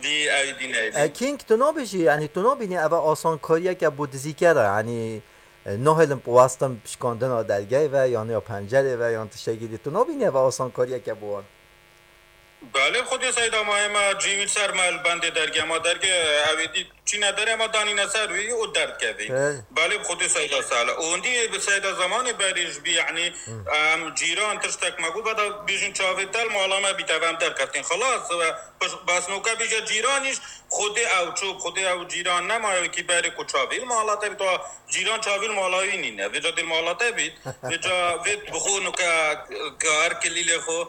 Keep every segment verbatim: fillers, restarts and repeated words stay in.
Dî ew dî neyê. E, King, tu nabêjî, yanî tu nabînî eve asankariyeke bo dizîkera, yanî, e, nahêlin westin pişkandina dergehê ve, yan ya pencerê ve, yan tiştekî dî. Tu nabînî eve asankariyeke bo wan? Belê, xwedê seyda ma ema cî wî ser me li bendê dergeh ma dergeh ew ê dî çîne derê ma danîne ser wî û derdkevî. He. Belê, bi xwedê seyda sala. Û hindî bi seyda zemanê berê ji bî, yanî, em cîran tiştek me got, veda bêjin çavê te li mala me bîte, ve em derkeftin. Xelas, ve bes noke bêje cîranîş, xwedê ew çû, xwedê ew cîran nemaye wekî berê ku çavê li mala te bît, wa cîran çavê li mala wî nîne. Vêca dê li mala te bît, vêca vê bi xwe noke kar kilîlê xwe,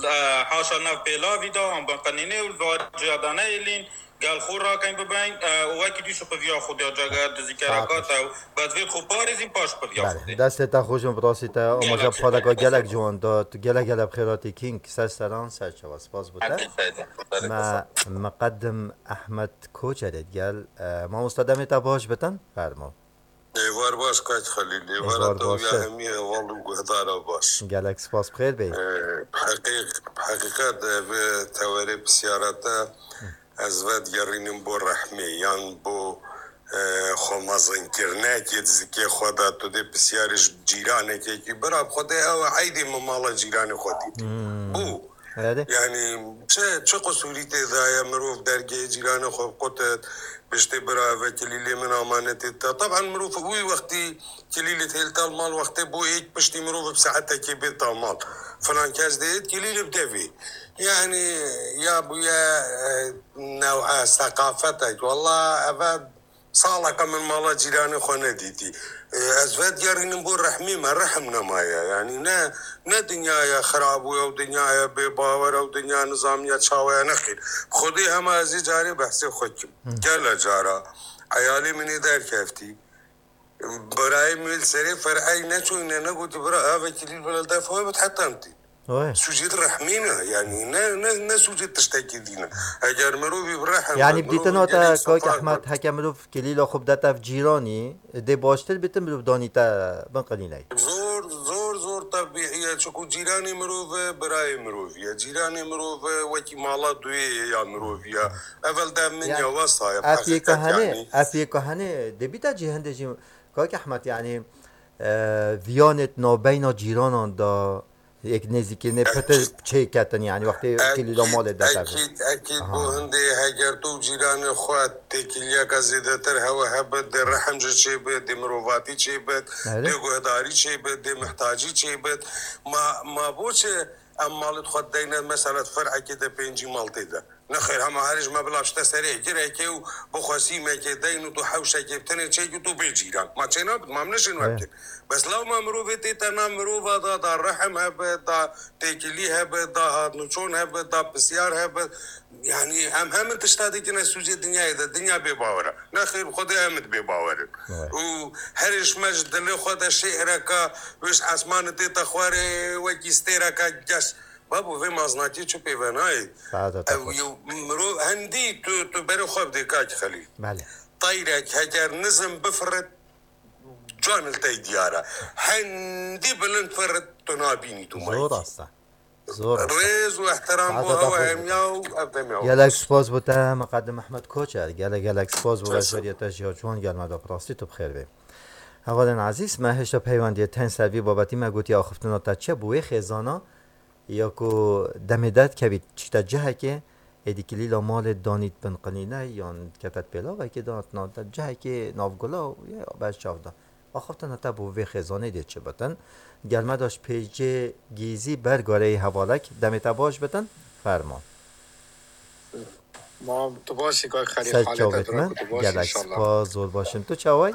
e, haşa nav pêlavî da, an bin qenînê û li va ciya da nehêlîn, gel xwe rakin bibin, e, û wekî dî şipiviya xwe diya cege dizîkera ka te û bes vê xwe parêzîn paş şipiviya xwe Belê, dê. Destê te xweş in, bi rastî te amaja bi xaleka gelek ciwan da. Tu gelek gelek bi xêr hatî King, ser seran, ser çava. Spas bo te. Hadi, hadi. Me, miqedim Ehmed Koçerê digel. E, mamosta demê te baş bitin, fermo. Êvar baş kak Xelîl, êvara Êvar te û baş ya e. Hemî heval û guhdara baş. Gelek spas, bi xêr bê. E, bi heqîq-, bi heqîqet, e, bi tewerê pisyara te, ez vedigerînim bo rehmê, yan bo, e, xwemezinkirinekê di zikê xwe de, tu dê pisyarê ji cîranekekî, bira bi Xwedê ew e eydê min mala cîranê xwe dîtî. Hmm. Bû. Erê. Yanî çi, çi qisûrî tê de ye, mirov dergehê cîranê xwe biqutit, biştê bira eve kilîlê min amanetê te. Taban mirov wî wextî kilîlê têl tal mal wextê bo êk piştî mirov bi saetekê bê tal mal. Filan kes dê kilîlê bi devê. Yanî ya bûye, e, new'a seqafetek. Walla eve saleke min mala cîranê xwe nedîtî. E, ez vedigerînim bo rehmê me, rehm nemaye. Yanî ne, ne dinyaya xirab û ew dinyaya bê bawer, ew dinya nizamiya çawa ye, nexêr. Xwedê hema ez ê carê behsê xwe kim. Gelek cara eyalê min ê derkeftî. Birayê min li serê fer'ey neçûyne, negotî bira eve kilîl bila def xwe bit heta em tî. Oy. Sûcê di rehmê ne, yanî ne, ne, ne sûcê tiştekî dî ne. Eger mirovî bi rehm Yanî bit, bi dîtina mirovî te gelek kak separ Ehmed, bit. Heke mirov kilîla xwe bidete ev cîranî, dê baştir bîtin mirov danî te bin qilîney. Zor, zor, zor tebîî ye, çiku cîranê mirov e, birayê mirovî ye. Cîranê mirov e, wekî mala duyê ye ya mirovî ye. Evel de min Yanî, ya wesa ye, ev yê heqîqet kuhenê, yanî. Ev yê kuhenê, dê bîte cî hindê jî, kak Ehmed, yanî, e, viyanê di navbeyna cîranan da, yek nêzîkî nê Ek- pitir çêketin, yanî wextê Ek- kilîla malê de tevin. Ekîd, ekîd bu Aha. Hindê heger tu cîranê xwe têkiliyeke zêdetir hewe hebit, dê rehm ji çê bit, dê mirovatî çê bit, Erê. Dê guhdarî çê bit, dê mihtacî çê bit. Ma, ma boçi em malê xwe deyne, mesela fer'ekê de pêncî mal tê de. Nexêr, hema herî ji me bila bişte serê girekê û bixwe sîmekê deyn û tu hewşekê bi tenê çêkî tu bê cîran. Ma çê nabit, ma em neşên we He. Bikin. Bes lewma mirovê tê te nav mirova da, da rehm hebe, da têkilî hebe, da hatnûçon hebe, da pisyar hebe. Yanî em hemin tişta dikine sûcê dinyayê de, dinya bê bawer e. Nexêr, bi Xwedê em id bê bawer in. Evet. Û herî ji me ji dilê xwe de şê'reka wê ji esmanê tê te xwarê wekî stêreka geş. Babo, vê maznakî çi pê ve nayê? Saete te Ew xweş. Yew mirov hendî tu, tu berê xwe bidê kak Xelîl. Belê. Teyrek heger nizm bifirit, can li tey diyar e. Hendî bilind firit, tu nabînî tu mayî. Zor asta. Zor asta. Rêz û ehtiram bo Saete te hewe xweş. Hemiya û ev demê Gelek spas bo te, Miqedim Ehmed Koçer. Gelek, gelek spas bo Teşekkür. Rejberiyê te ji ya ciwan gelme de bi rastî tu bi xêr bê. Hevalên ezîz, me hêşta peywendiyê tên ser vî babetî me gotiye axiftina te çi bû wê xêzana. Ya ku demê derdikevî çîte cihekê, êdî kilîla malê danît bin qinîne yan dikete pêlavekê, danat nav cihekê navgula û ya ber çav da. Axaftina te bo vê xêzanê dê çi bitin? Gel me da ji pêcê gîzî ber gareyê hevalek demê te baş bitin. Fermo. Ma tu baş î kak Xelîl, Ser halê te çavêt dira me. Ku tu baş Gelek înşallah. Spas, zor baş im. Tu çaway?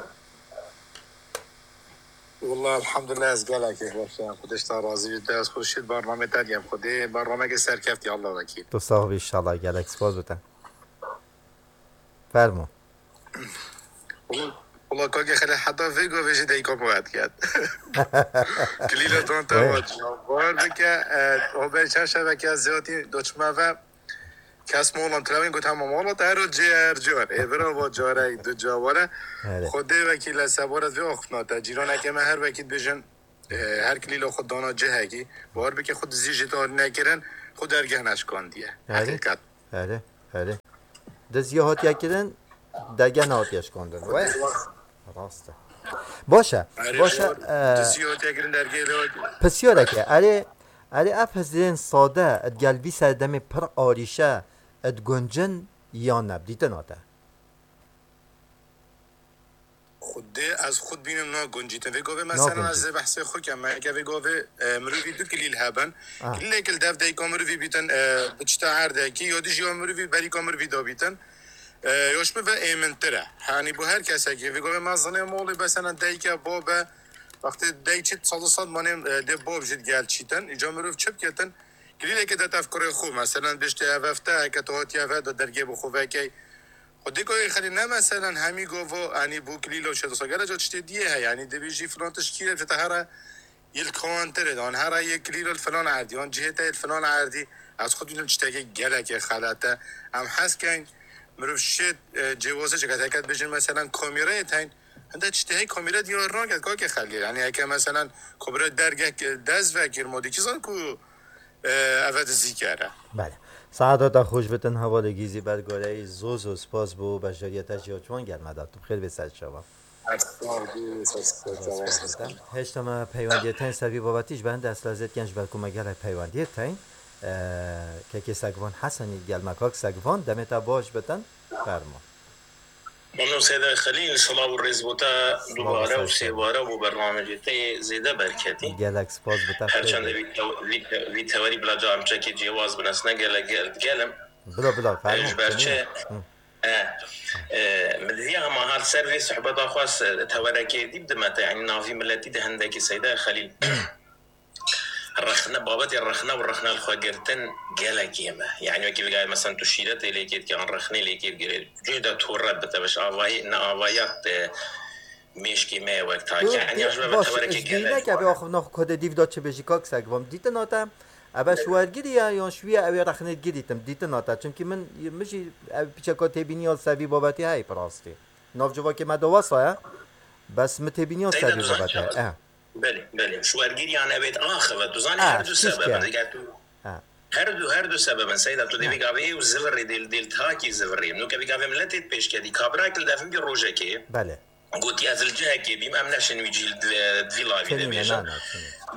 Wallah, elhamdulillah, ez gelekî xweş im. Xwedê ji te razî bî. Dest xweş û şîr bernamê te diyem. Xwedê bernameke serkeftî, Allah wekîl. Tu sax bî, inşallah, gelek spas bi te. Fermo. Wala, wala, kake Xelîl, heta vê gavê jî deyka min wet ket. Kilîla dan te Evet. Wa cevap bike, e, o ben çar şeveke ziyatî doçme ve Kes molan televîn got, hema mola te her cê her car. Ê bira va carek, du ca were. Erê. Xwedê wekî le seboret vê axiftina te. Cîranekê me her wekî dibêjin, e, her kilîla xwe dana cihekî. Bawer bike xwe dizî jî dar nekirin, xwe dergeh neşkandiye. Erê. Heqîqet. Erê. Erê. Diziya hatiye kirin, dergeh nehatiye şikandin. Wê? Rast e. Baş e. Erê, Baş e. Diziya hatiye kirin, dergehê lê hatiye. Pisyareke. Erê, erê ev hizrên sade, digel vî serdemê pir arîşe, diguncin yan ne? Dîtina te. Xwedê ez xwe dibînim naguncîtin. Vê gavê mesela ez Naguncît. Dê behsê xwe kem. Me eke vê gavê, e, mirovî du kilîl hebin. Ah. Kilîlek li dev dayika mirovî bîtin, e, bi çita erdekî, ya dî jî ya mirovî berîka mirovî dabîtin. E, ya ji min ve êmintir e. Hanî bo her kesekî. Vê gavê me zinê molê mesela dayike babe. Wextê dayik çit sed û sed manê, e, dê bab jî digel çîtin. Îca mirov çi biketin? Kilîleke de tev kurê xwe. Mesela biştê ev hefte, heke tu hatiye ve de dergê bi xwe vekey. Xwedê ku xelî ne meselan hemî gava, enî bû kilîlo şedosa gele ca tiştê diyê heye. Enî dibêjî filan tişt kî re, te here yê li kawantirê de, an here yê kilîlo li filan erdî, an cihê te yê li filan erdî. Ez xwe dînim tiştekê gelekê xelete. Em hez keyn, mirov şêt, e, cêwazê çiket. Heke dibêjin meselan kamîreyê teyn, hinde tiştê hey kamîre diyar naket, kakê xelkê. Enî heke meselan kamîre dergeh dest vekir, modî kî zan ku e, eve dizî kere. Belê. Saeta te xweş bitin, hevalê Gîzî Bergoreyî, zor zor spas bo beşdariyê te jî ya ciwan gel me da. Tu bi xêr bê ser çava. Spas bitin. Hêşta me peywendiyê teyn ser vî babetî ji ber hinde ez lezet ken ji ber ku me gelek peywendiyê teyn. E, kekê Segvan Hesenî gel me kak Segvan, demê te baş bitin. Fermo. Mano Seyda Xelîl, silav û rêz bo te dubare û sêware bo bernamecê te yê zêde berketî. Gelek spas bi te. Her çend vî tew-, vî te-, vî tewerî bila ca em çekê cêwaz bin, ez ne gelek gel-, gel im. Bila, bila, fermo. Ji ber çi? E, e, min diviya hema hat ser vê sohbeta xwe s-, tewerekê dî bidime te, yanî navî miletî de hindekî Seyda Xelîl. Rexne, babetê rexne û rexne li xwe girtin gelek kêm e. Yanî wekî vegavê, mesela tu şîretê lê kêt, yan rexnê lê kêt girê. Cihê de tu red bi te biş avayî, ne avaya te mêşkê me ye wek takî. Yanî ya ji me ve tewereke gelek. Vîneke vê axivna xwe kode dîv da çi bêjî kak Segvan. Dîtina te, ebe ji wergirî ye, yan ji wî ye, ew ê rexnê girîtim. Dîtina te. Çimkî min, min jî ev piçeka têbîniya li ser vî babetî heye bi rastî. Nav civakê me de wesa ye. Bes min têbîniya ser vî babetî heye. Belê, belê. Ji wergiriyan ew ê axive. Tu zanî her du sebeb in. Eger tu her du, her du sebeb in, Seyda, tu dê vê gavê û zivirê dê, dê li takî zivirê. Nûke vê gavê miletê pêşketî. Kabirayek li devin bir rojekê. Belê. Gotî ez li cihekê bîm, em neşin wî cî li di-, di vî lavî de bêjin.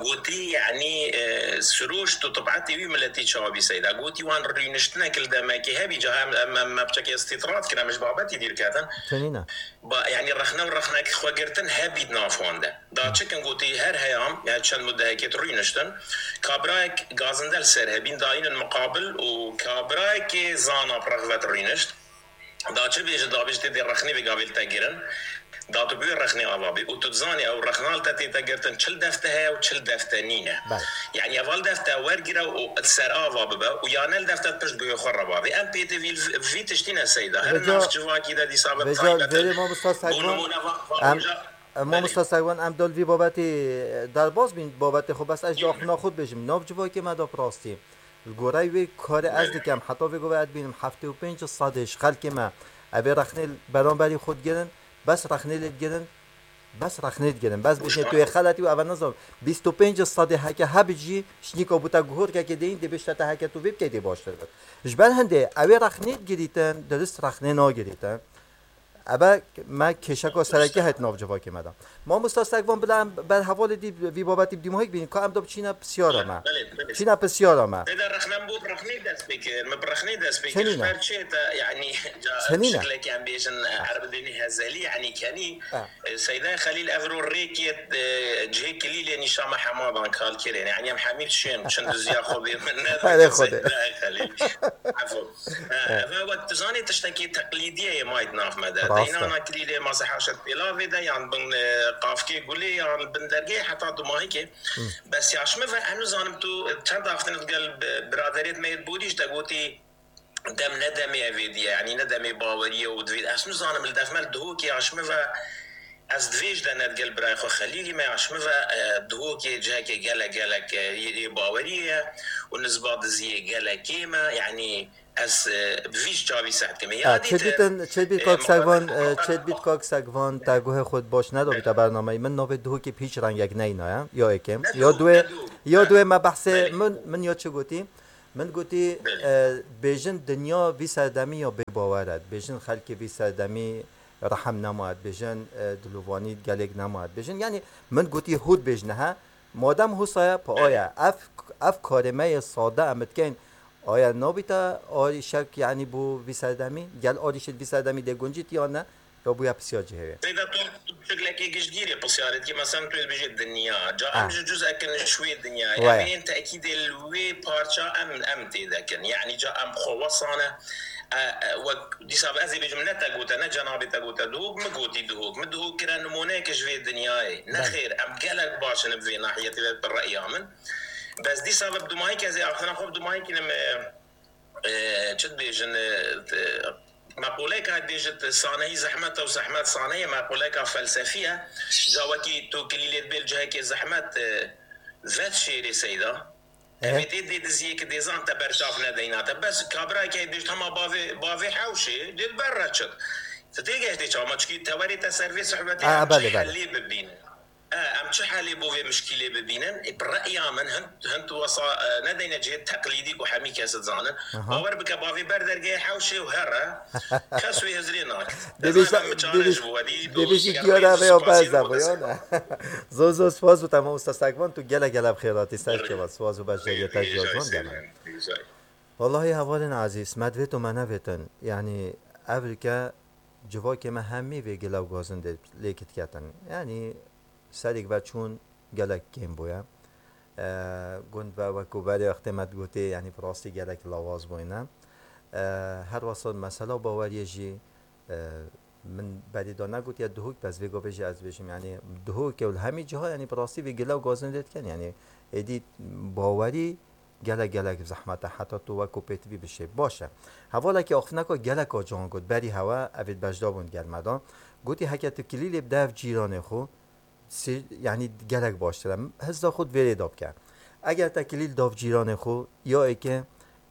Gotî, yanî, e, siroşt û tibetê wî miletî çawa bî Seyda. Gotî wan rûniştinek li demekê hebî, ca em, em, em, me piçekê îstîtrad kirin, em ji babetî dîr ketin. Ba, yanî rexne û rexnek xwe girtin hebî di nav wan de. Da çikin gotî her heyam, ya çend mudehekê tu rûniştin, kabirayek gazinde li ser hebîn dayînin miqabil û kabirayekê zana bi rexvet rûnişt. Da çi bêje, da bêje tê dê rexnê vê gavê li te girin, da tu bi wê rexnê ava bî û tu dizanî ew rexna li te tê te girtin çil defte heye û çil defte nîne. Belê. Yanî eval defte wergire û li ser ava bibe û ya ne li defte pişt guhê xwe re bavê. Em pê tê vî, vî tiştî ne Seyda. Her nav civakî de dîsa be taybet. Vêca vêrê mamosta Segvan, em, mamosta Segvan, em dal vî babetê derbas bîn, babetê xwe, bes ez jî axivna xwe dibêjim. Nav civakê me de bi rastî. Li goreyê wê karê ez dikem, heta vê gavê ez dibînim heftê û pênc sedê ji xelkê me ev ê rexnê li beramberî xwe digirin, bes rexnê lê digirin, bes rexnê digirin. Bes bêjinê tu yê xeletî û eve nizam bîst û pênc sedê heke hebit jî şinîka bû te guhorkekê deyîn dê bêjte te heke tu vê bikey dê baştir bit. Ji ber hindê ew ê rexnê digirîtin, dirist rexnê nagirîtin. Ebe me kêşeka serekî heyt nav civakê me de. Mamosta Segvan, bila em ber hevalê dî vî babetî bi dîmahî bînin, ka em de biçîne pisyara me. Belê, belê. Biçîne pisyara me. Tê de rexne, em bo rexnê dest pê kir, me bi rexnê dest pê kir. Çenîne? Ji ber çi te, yanî, ca şiklekê em bêjin, erbidênî hezelî, yanî kenî, e, Seyda Xelîl ev ro rêkê, e, cihê kilîlê nîşa me hema dan kalkirê. Yanî em hemî şên, çin diziya xwe bê min ne. Erê Xwedê. Seyda Xelîl. Efo. He, ev e wek tu zanî tiştekî teqlîdî ye yê may di nav me de. Rast e. Deynana kilîlê mase haşet pêlavê de yan bin, e, qafkê gulê yan bin dergehê heta dumahîkê. Bes ya ji min ve em nizanim tu çend axiftin digel bi-, biraderêt me yê borî ji te gotî dem ne demê evê diye, yanî ne demê bawerî ye û divê. Ez nizanim li dev me li Duhokê ya ji min ve ez divê ji de ne digel birayê xwe Xelîlî me ya ji min ve, e, Duhokê cihekê gelek gelek, e, yê, yê bawerî ye û nizba diziyê gelek kêm e, yanî Ez, e, bi vî çavî seh dikeme. Ya dî te, çêdbît, çêdbît e, kak Segvan, e, çêdbît kak Segvan, te guhê xwe baş nedabî te bernameyî. Min navê Duhokê bi hîç rengek neyna ya. Ya êkêm. Ya duê, ya duê me behsê min, min ya çi gotî? Min gotî, e, bêjin dinya vî serdemî ya bêbawer e. Bêjin xelkê vî serdemî rehem nema. Bêjin, e, dilovanî gelêk nema. Bêjin, yanî min gotî hû dibêjine he. Madem hûsa ye, pa aya. Ev, ev karê me yê sade em dikeyn. Aya nabîte arîşek, yanî bo vî serdemî? Gel arîşê vî serdemî dê guncît yan ne? Ya bûya pisyar cihê wê. Seyda, tu, tu şiklekê giştgîrê pisyarê dikî, mesela tu dibêjî dinya. Ca em Ah. ji cuzek in ji wê dinyayê. Waya. Em ên tekîdê li wê parça em, em tê dekin. Yanî ca em xwe wesane, e, e, wek dîsa ez ê bêjim, ne te gote, ne cenabê te gote, Duhok, min gotî Duhok. Min Duhok kire nimûneyeke ji vê dinyayê. Belê. Nexêr, em gelek baş in bi vê nahiyetê ve bi reya min. Bes dîsa ve bi dumahî kezê axina xwe bi dumahî kinim, e, e, çi dibêjin, e, te-, meqûleyeka dibêjit saneyî zehmet e û zehmet saneyê, meqûleyeka felsefî ye. Ca wekî tu kilîlê dibê li cihekê zehmet, e, vet şêrê seyda. Ehe. Evê tê dê diziyê ki dêzan te berçav nedeyna te. Bes kabirayeke dibêjit hema bavê, bavê hewşê, dê li ber re çit. Tu tê geştê çawa? Ma çikî tewerê te ser vê sohbetê A, em çi belê, belê. helê bibînin? E, em çi helê bo vê mişkîlê bibînin? Ê, bi re'ya min hin, hin tu wesa, e, nedeyne cihê teqlîdî ku hemî kes dizanin. Aha. Bawer bike, bavê ber dergehê hewşê û here, kes wê hizrê nake. Dibêjî, Dizanim min çare dibêjî, ji bo wedî, dibêjî diyara vê ya berz de bo, ya ne? Zor zor spas bo te mamosta Sekvan, tu gelek gelek bi xêr hatî ser çava. Spas û beşdariyê te jî ya ciwan gelek. Wallahî hevalên ezîz, me divêt û me nevêtin. Yanî evrike civakê me hemî vê gile û gazin de lê kitketin. Yanî serîk ve çûn gelek kêm bûye. E, gund ve wekû berê wextê me digotê, yanî bi rastî gelek lawaz bûyne. E, her wesa mesela baweriyê jî, e, min berî da negotiye Duhok, bes vê gavê jî ez bêjim, yanî Duhok û li hemî ciha, yanî bi rastî vê gile û gazin lê dikin. Yanî êdî bawerî gelek, gelek zehmet e, heta tu wekû pêtivî bişê. Baş e. Hevalekî axiftineka gelek a ciwan got, berî hewe evê beşdar bûn gel me de. Gotî, heke tu kilîlê bide ev cîranê xwe, sê-, yanî gelek baştir e. Hizda xwe di vê rê de bike. Eger te kilîl dav cîranê xwe, ya êke,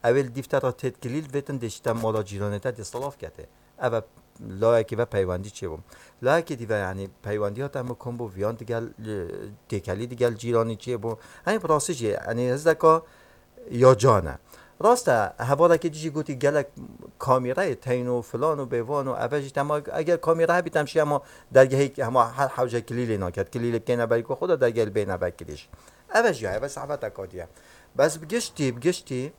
ew ê li dîv te re têt kilîl vêtin dê ji te mala cîranê te dê silav kete. Ev e layekî ve peywendî çêbû. Layekî dî ve, yanî peywendiya te mikum bû, viyan digel, e, têkelî digel cîranî çêbû. Henî bi rastî jî, yanî hizdeka ya can e. Rast e, hevalekî dî jî gotî gelek kamîreyê teyn û filan û bêvan û eve jî tema, eger kamîre hebî te em şî hema dergehê hema her hewce kilîlê naket. Kilîlê bikeyne berî ku xwe de dergehê li bêne vekirî jî. Eve jî ya, eve sehbeteka dî ye. Bes bi giştî, bi giştî,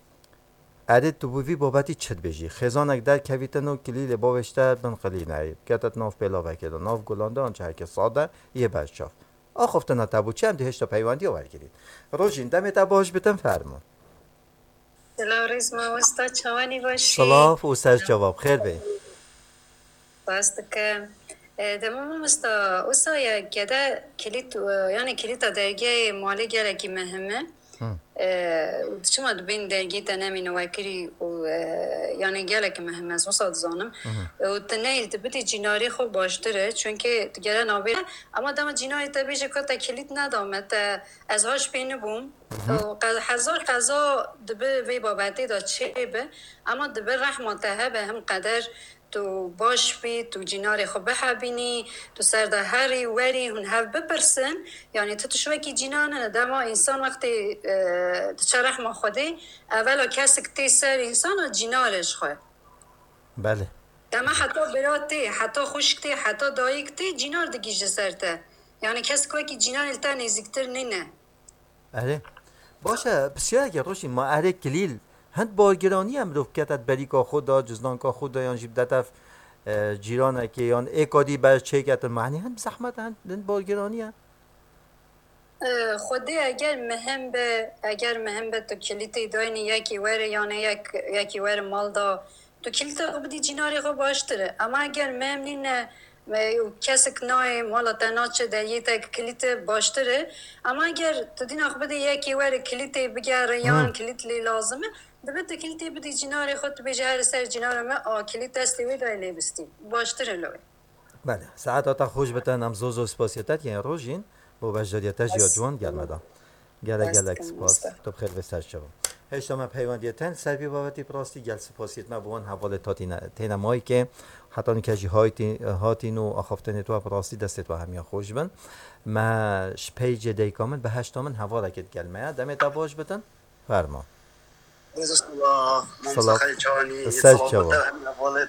Erê, tu bi vî babetî çi dibêjî? Xêzanek derkevîtin û kilîlê bavêşte bin qilîneyê, bikete di nav pêlavekê de, nav gulan de, an cihekê sade yê berçav. Axaftina te bû çi? Em dê hêşta peywendiya wergirîn. Rojîn, demê te baş bitin, fermo. Silav rêz mamosta, çawanî başî? Silav û ser çava, bi xêr bê. Spas dikim. E, dema mamosta, wisa ye gede kilît, e, yani kilîta dergehê malê gelekî mehim e. Hı. E, û çima dibên dergehê te nemîne wekirî û, e, yani gelekî mehim e, ez wisa dizanim. Hı hı. E, û tu neyl, tu bidî cînarê xwe baştir e, çunkê tu gere nabê. Ama dema cînarê te bêje ka te kilît neda me, te ez haş pê nibûm. Hı hı. Û qe-, hezar qeza dibi vê babetê de çêbi. Ama dibi rehma te hebe, him qeder tu baş bî, tu cînarê xwe bihebînî, tu ser de herî, werî, hûn hev bipirsin. Yanî tu tişt wekî cînan e, dema însan wextê, e, diçe rehma Xwedê, evela kesik tê ser însan a cînarê ji xwe. Belê. Dema heta bira tê, heta xwişk tê, heta dayik tê, cînar digihîje ser te. Yanî kesik wekî cînanê li te nêzîktir nîne. Erê. Baş e, pisyareke Rojîn, ma erê kilîl, hind bargiranî ye mirov bikete di berîka xwe de, cizdanka xwe de, yan jî bidete, e, cîranekê, yan êka dî ber çêketin, ma henî hind zehmet e, hind, hind bargiranî ye? E, Xwedê eger mihim be, eger mihim be tu kilîtê daynî yekî were, yanê yek, yekî were mal da, tu kilîta xwe bidî cînarê xwe baştir e. Ama eger mem nîne, e, û kesik nayê mala te naçe deriyê te kilît e, baştir e. Ama eger tu dîna xwe bidî yekî were kilîtê bigere yan Hmm. kilît lê lazim e, dibe tu kilîtê bidî cînarê xwe, tu bêjî here ser cînara me, a kilît destê wê dayê lê bistî. Baştir e li wê. Belê. Saeta te xweş bitin, em zor zor spasiya te dikin Rojîn. Bo beşdariya te jî ya ciwan gel me da. Gelek gelek spas. Tu bi xêr ve ser çava. Hêşta me peywendiye ten ser vî babetî bi rastî gel spasiyet me bi wan hevalê tatîne têne mayke. Heta nûke jî haytî-, hatîn û axaftinê tu bi rastî destê tu hemiya xweş bin. Me ji peycê dayika min bi heşta min hevalekê digel me ya. Demê te baş bitin. Ferma. Rêza selav, Mamostê Selav. Xelîl Çawanî, Ser selamet çawa. te hemî hevalê.